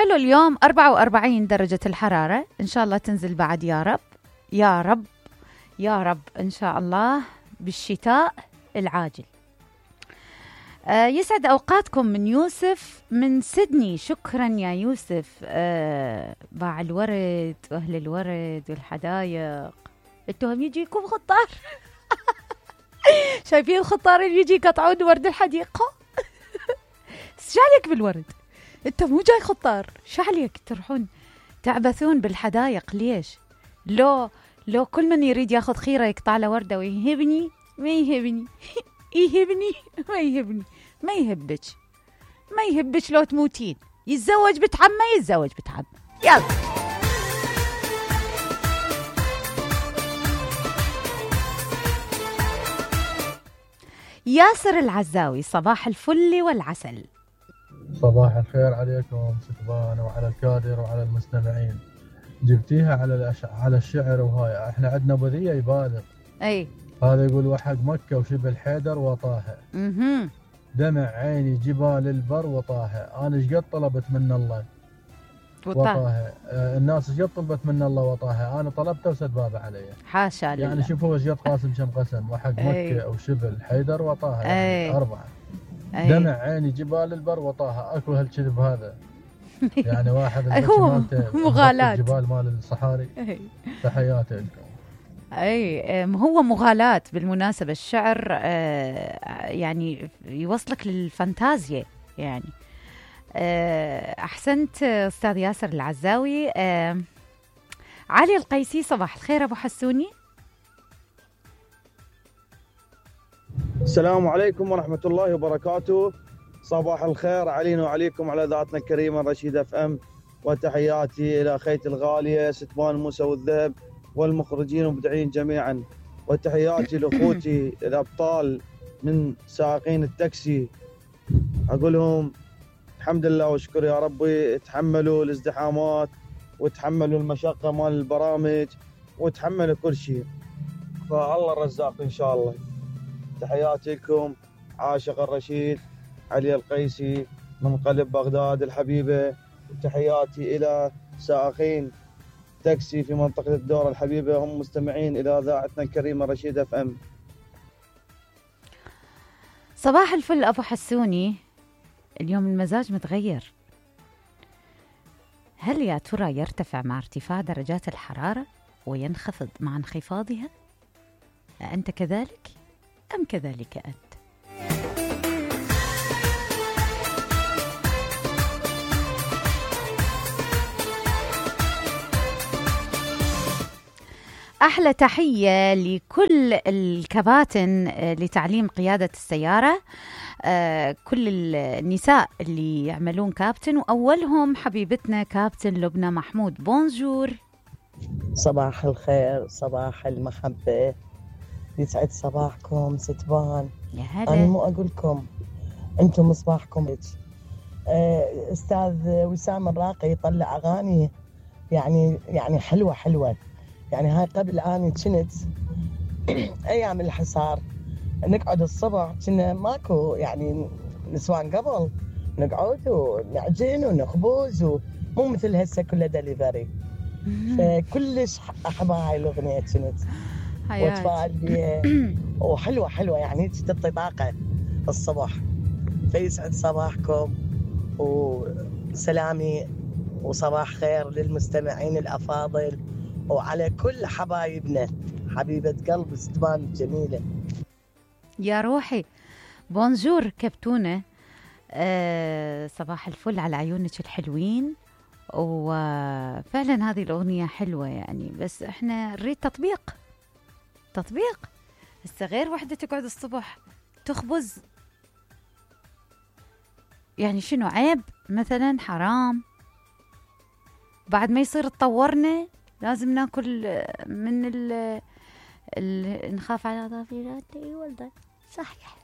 حلو اليوم 44 درجة الحرارة، إن شاء الله تنزل بعد يا رب يا رب يا رب إن شاء الله بالشتاء العاجل. يسعد أوقاتكم من يوسف من سيدني. شكرا يا يوسف. باع الورد وأهل الورد والحدايق، انتم يجيكم خطار شايفين الخطار اللي يجي يقطعون ورد الحديقة شو عليك بالورد؟ انت مو جاي خطار، شو عليك تروحون تعبثون بالحدايق؟ ليش؟ لو كل من يريد ياخذ خيرة يقطع له وردة ويهبني ما يهبني يهبني ما يهبني، ما يهبك لو تموتين. يتزوج بتعم ما يتزوج بتعم. يلا ياسر العزاوي، صباح الفل والعسل. صباح الخير عليكم ستبان وعلى الكادر وعلى المستمعين. جبتيها على الشعر، وهاي احنا عندنا بذية يبالغ. اي هذا يقول وحق مكة وشبه حيدر وطاها. دمع عيني جبال البر وطاها. انا ايش قد طلبت من الله وطاها. الناس ايش قد طلبت من الله وطاها، انا طلبته وسد بابه علي. حاشا لله. يعني شوفوا ايش قد قاسم كم قسم. وحق مكة وشبه حيدر وطاها، يعني 4. دمع عيني جبال البر وطاها. اكو هالكذب هذا يعني واحد هو مغالاة جبال مال الصحاري. تحياتي لكم. هو مغالاة بالمناسبة. الشعر يعني يوصلك للفانتازيا يعني. أحسنت أستاذ ياسر العزاوي. علي القيسي، صباح الخير أبو حسوني. السلام عليكم ورحمة الله وبركاته. صباح الخير علينا وعليكم على ذاتنا الكريمة رشيد اف ام، وتحياتي إلى أخيتي الغالية ستبان موسى والذهب والمخرجين والمبدعين جميعا، وتحياتي لأخوتي الأبطال من سائقين التاكسي. أقول لهم الحمد لله وشكر يا ربي، تحملوا الازدحامات وتحملوا المشقة مال البرامج وتحملوا كل شيء، فالله الرزاق إن شاء الله. تحياتي لكم. عاشق الرشيد علي القيسي من قلب بغداد الحبيبة. وتحياتي إلى سائقين تاكسي في منطقة الدورة الحبيبة، هم مستمعين إلى إذاعتنا الكريمة رشيد اف ام. صباح الفل أبو حسوني. اليوم المزاج متغير. هل يا ترى يرتفع مع ارتفاع درجات الحرارة وينخفض مع انخفاضها؟ أنت كذلك أم كذلك أنت؟ أحلى تحية لكل الكباتن لتعليم قيادة السيارة، كل النساء اللي يعملون كابتن، وأولهم حبيبتنا كابتن لبنى محمود. بونجور. صباح الخير، صباح المحبة، يسعد صباحكم ستبان. يا هلا. أنا مو أقولكم أنتم مصباحكم. أستاذ وسام الراقي يطلع أغاني يعني حلوة. يعني هاي قبل أني كنت أيام الحصار نقعد الصبح، كنا ماكو يعني نسوان قبل نقعد ونعجن ونخبز، ومو مثل هسه كله دليفري. فكلش أحب هاي الأغنية كنت واتفائل بيها، وحلوة يعني تعطي طاقة الصبح. فيسعد صباحكم وسلامي وصباح خير للمستمعين الأفاضل وعلى كل حبايبنا. حبيبة قلب ستبان الجميلة. يا روحي. بونجور كبتونة. صباح الفل على عيونك الحلوين. وفعلا هذه الأغنية حلوة يعني، بس احنا نريد تطبيق. هسه غير وحدة تقعد الصبح تخبز، يعني شنو عيب مثلا؟ حرام. بعد ما يصير تطورنا لازم ناكل من نخاف على ضفيراتي والله. صحيح.